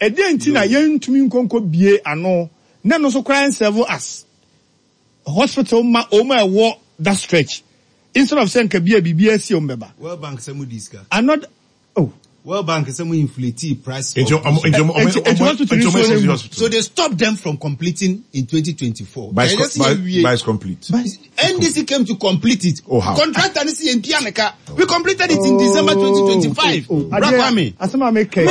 Ɛdeɛn nti na yɛntumi nkɔ nkɔ bie ano na ɛno nso koraa nserve as hospital ma wɔn a ɛwɔ that stretch instead of sɛ nka bi a biribi asi wɔn bɛba. World Bank sɛ mo di sika. Another oh. World Bank sɛ mo inflate price. Nti ɔmo nti ɔmo ɔmo nti ɔmo esi hospital. So they stop them from completing in 2024. By by is complete. NDC came to complete it. Oh how? Contractor ni si yɛn tua ne ka. We completed it in December 2025. Oh, oh, oh. Kwame. Asɛm a meka yi.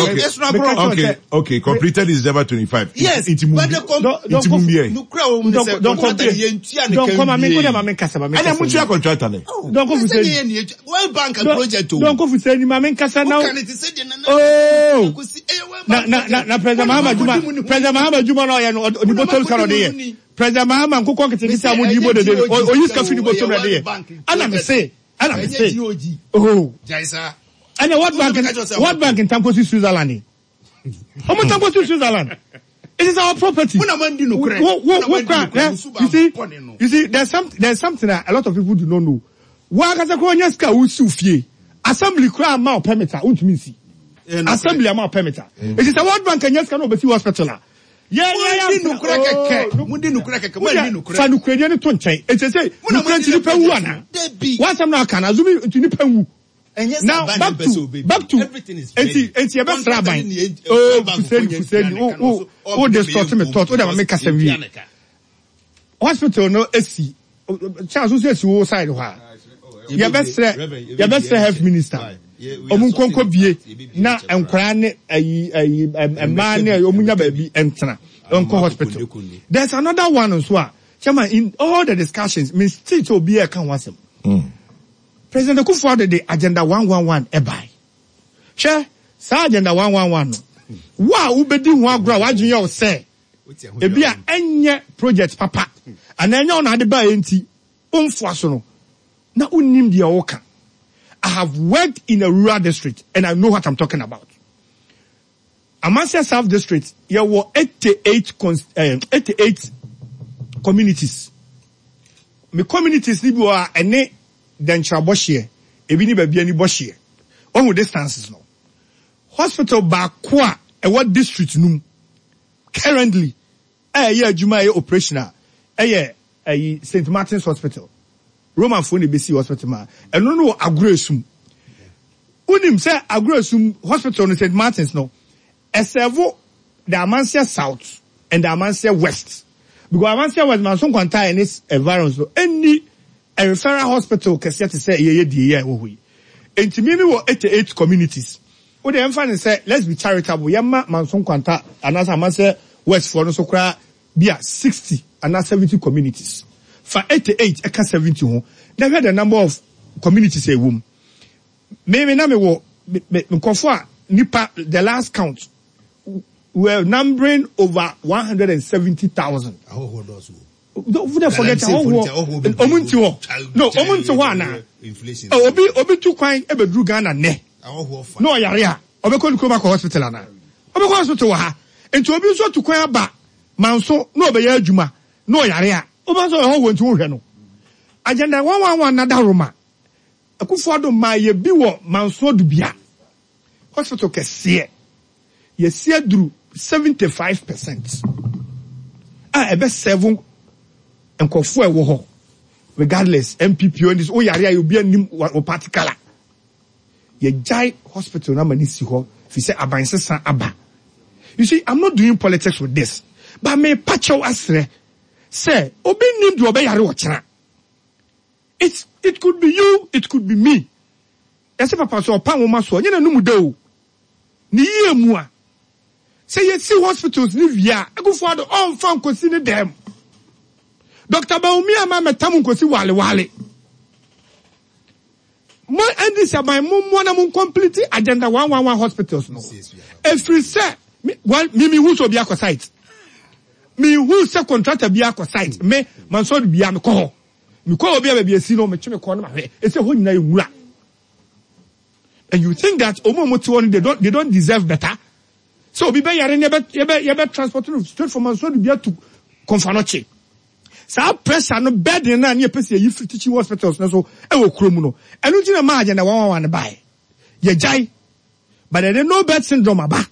Okay, okay, completed in December 25. Yes, Nti mu but the com nti mu wie. Nukura wo mu sɛ contractor ni yɛn tua ne ka wie. Dɔnkɔ ma mi nkɔ ma mi nkasa ma mi nkasa. Ɛna mu tua contractor ne. Dɔnkɔ Fuseni. World Bank project o. Dɔnkɔ Fuseni ma mi nkasa na. Oh. Na na na na President Mahama juma President Mahama juma na ɔyɛ no ɔdi bɔtɔm sika na ɔde yɛ. President Mahama nkokɔ nketenkete a mo di bɔ dede no oyi sika fi ne bɔtɔm na ɛde yɛ. Ɛna mi se ɛna mi se oh ɛna World Bank World Bank ntankosi Switzerland ɔmo ntankosi Switzerland it is our property. Wo wo wo kura eh you see you see there's some there's something that a lot of people do not know. Wo ankasa kura onye sika a wosi fie assembly kura ama o permit a wontumi nsi assembly ama o permit a eti sɛ World Bank anya sika na obesi hospital a. Mudi nokorɛ kɛkɛ. Mudi nokorɛ kɛkɛ. Mo anni nokorɛ. Fa nokorɛdie no to nkyɛn. Enti sɛ nokorɛ nti nipa wu anaa? W'asɛm na aka no azumi nti nipa nwu. Now back to back to enti enti yɛbɛsrɛ aban. Oh Fuseni Fuseni wo wo wo distort me thought wo de ma me kasa wie. Hospital no esi Charles nso esi wo side hɔ a. Yɛbɛsrɛ yɛbɛsrɛ health minister ɔmo nkonko bie na nkwaraa ne ayi ayi mmaa ne ɔmo nya baabi ntena nkɔ hospital. There's another one nso a chairman in all the discussions me still sɛ obi ɛka ho asɛm. President Akufo-Addo de agenda 111 ɛbae. Hwɛ saa agenda 111 no wo a wobɛdi ho agorɔ a w'adwene yɛ wo sɛ ebi a ɛnyɛ project papa anaa ɛnyɛ wo na ade baeɛ nti womfoa so no na wonnim deɛ woka. I have worked in a rural district and I know what I'm talking about. Amansia South District yɛwɔ 88 cons eh, 88 communities. Me communities ni bi wɔ a ɛne Dɛnkyerɛ bɔhyeɛ, ebi ne baabi ani bɔhyeɛ. Wahu distances no. Hospital baako a ɛwɔ district no mu currently a ɛyɛ adwuma a ɛyɛ operational ɛyɛ ɛyi St. Martin's Hospital. Romanfoɔ na ebesi hospital ma ɛno no wɔ Agorɔ Esum. Wonim sɛ Agorɔ Esum Hospital no St. Martin's no ɛsɛvo the Amansia South and the Amansia West because Amansia West Manso Nkwanta and its environs no ɛnni a referral hospital kɛseɛ te sɛ yɛyɛ deɛ yi a ɛwɔ hɔ yi. Enti me mewɔ 88 communities. Wo deɛ yɛmfa no sɛ let's be charitable yɛmma Manso Nkwanta anaasɛ Amansia West foɔ no so koraa bi a 60 anaa 70 communities. Fa 88 ɛka 70 ho na hwɛ the number of communities a ɛwɔ mu. Me me na mewɔ me me nkurɔfoɔ a nipa the last count were numbering over 170,000. Ahɔhoɔ dɔɔso wɔ mu. Don't don't forget ahɔhoɔ ɔmo nti hɔ no ɔmo nti hɔ anaa oh, obi obi tu kwan ebeduru Ghana nnɛ na ɔyare a ɔbɛkɔ ne kurom akɔ hospital anaa ɔbɛkɔ hospital wɔ ha nti obi nso tu kwan aba manso na ɔbɛyɛ adwuma na ɔyare a ɔba nso ɔyɛ hɔhoɔ nti wohwɛ no agenda 111 nada Roma Akufo-Addo maa yɛ bi wɔ Manso Adubia hospital kɛseɛ. Yɛasi aduru 75 percent a ɛbɛ serve nkurɔfoɔ a ɛwɔ hɔ regardless NPP or NDC woyare a obi anim wo party colour. Yɛgyae hospital no ama no si hɔ firi sɛ aban sesa aba. You see, I'm not doing politics with this, but mepa kyɛw asrɛ sɛ obi nnim deɛ ɔbɛyare ɔkyena. It's it could be you, it could be me. Yɛse papa sɛ ɔpa nwoma so a, ɔnyɛ n'anum da o. Ne yie mu a, sɛ yɛsi hospitals no wie a, Akufo Addo ɔmfa nkosi ne dɛm. Doctor Bawumia ma mɛtam nkosi wale wale. Mo NDC aban mo mmoa na mo complete agenda 111 hospitals no. Ɛfiri sɛ, me, well, me mehu sɛ obi akɔ site. Mehu sɛ contractor bi akɔ site. Me, mansɔre bia mekɔ hɔ. Mekɔ obi a baabi esi no, metwe me kɔn no mahwɛ. Ese hɔ nyinaa yɛ nwura. And you think that ɔmo a ɔmo te hɔ no they don't deserve better? Sɛ obi bɛyare no yɛbɛ yɛbɛ yɛbɛ transport no straight from Mansour to Komfo Anokye. Saa pressure no burden no a ne yɛpɛ sɛ yɛyi firi teaching hospitals no so ɛwɔ kurom no. Ɛno nti na maa agenda 111 no baeɛ. Yɛgyae. But ɛnɛ no bed syndrome aba.